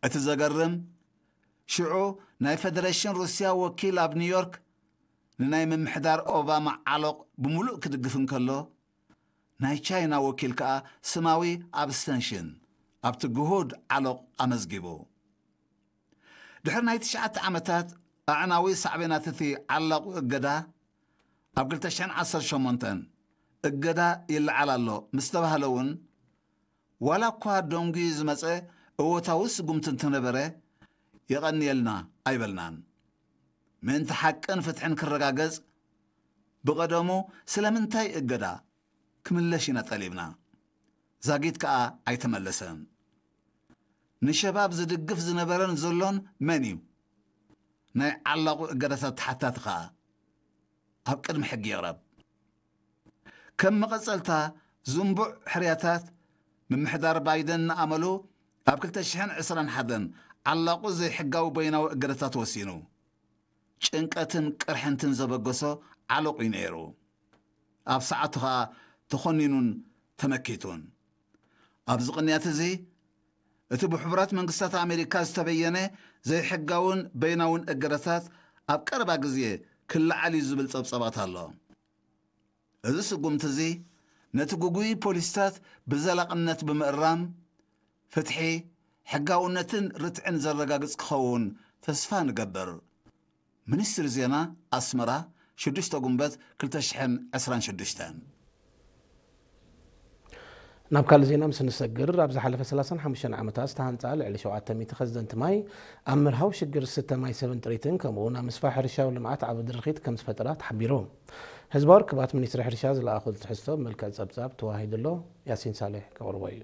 እቲ ዘገርም፣ ሽዑ ናይ ፈደረሽን ሩስያ ወኪል ኣብ ኒውዮርክ ንናይ ምምሕዳር ኦባማ ዓሎቕ ብምሉእ ክድግፍ እንከሎ፣ ናይ ቻይና ወኪል ከኣ ስማዊ ኣብስተንሽን ኣብቲ ግሁድ ዓሎቕ ኣመዝጊቡ። ድሕሪ ናይ ትሽዓተ ዓመታት ኣዕናዊ ሳዕቤናት እቲ ዓላቑ እገዳ፣ ኣብ ክልተ ሽሕን ዓሰርተ ሸሞንተን እገዳ ይለዓል ኣሎ ምስ ተባህለ እውን፣ ዋላ እኳ ደንጉዩ ዝመጸ እወታዊ ስጉምቲ እንተነበረ፣ የቐንየልና ኣይበልናን። ምእንቲ ሓቅን ፍትሕን ክረጋገጽ፣ ብቐደሙ ስለምንታይ እገዳ ክምለሽ ኢና ጠሊብና። ዛጊት ከኣ ኣይተመለሰን። ንሸባብ ዝድግፍ ዝነበረን ዘሎን መን እዩ? ናይ ዓላቑ እገዳታት ተሓታቲ ከኣ ኣብ ቅድሚ ሕጊ ይቕረብ። ከም መቐጸልታ ዝንቡዕ ሕርያታት፣ ምምሕዳር ባይደን ንኣመሉ ኣብ ክልተ ሽሕን ዕስራን ሓደን ዓላቑ ዘይሕጋዊ በይናዊ እገዳታት ወሲኑ። ጭንቀትን ቅርሕንትን ዘበገሶ ዓሎቕ እዩ ነይሩ። ኣብ ሰዓቱ ኸኣ ተኾኒኑን ተመኪቱን። ኣብዚ ቅንያት እዚ፣ እቲ ብሕቡራት መንግስታት ኣሜሪካ ዝተበየነ ዘይሕጋውን በይናውን እገዳታት ኣብ ቀረባ ግዜ ክለዓል እዩ ዝብል ጸብጸባት ኣሎ። እዚ ስጉምቲ እዚ ነቲ ግጉይ ፖሊሲታት ብዘላቕነት ብምእራም፣ ፍትሒ፣ ሕጋውነትን ርትዕን ዘረጋግጽ ክኸውን ተስፋ ንገብር። ሚኒስትሪ ዜና ኣስመራ፣ ሽዱሽተ ጉንበት ክልተ ሽሕን ዕስራን ሽዱሽተን። ናብ ካልእ ዜና ምስ ንሰግር፣ ኣብ ዝሓለፈ ሰላሳን ሓሙሽተን ዓመታት ዝተሃንጻ ልዕሊ ሸውዓተ ሚእቲ ከዘንቲ ማይ ኣብ ምርሃው ሽግር ዝስተ ማይ ሰብን ጥሪትን፣ ከምኡ እውን ኣብ ምስፋሕ ሕርሻዊ ልምዓት ዓቢ ድርኺት ከም ዝፈጠራ ተሓቢሩ። ህዝባዊ ርክባት ሚኒስትሪ ሕርሻ ዝለኣኹ ትሕዝቶ ብመልክዕ ጸብጻብ ተዋሂዱ ኣሎ። ያሲን ሳሌሕ ከቕርቦ እዩ።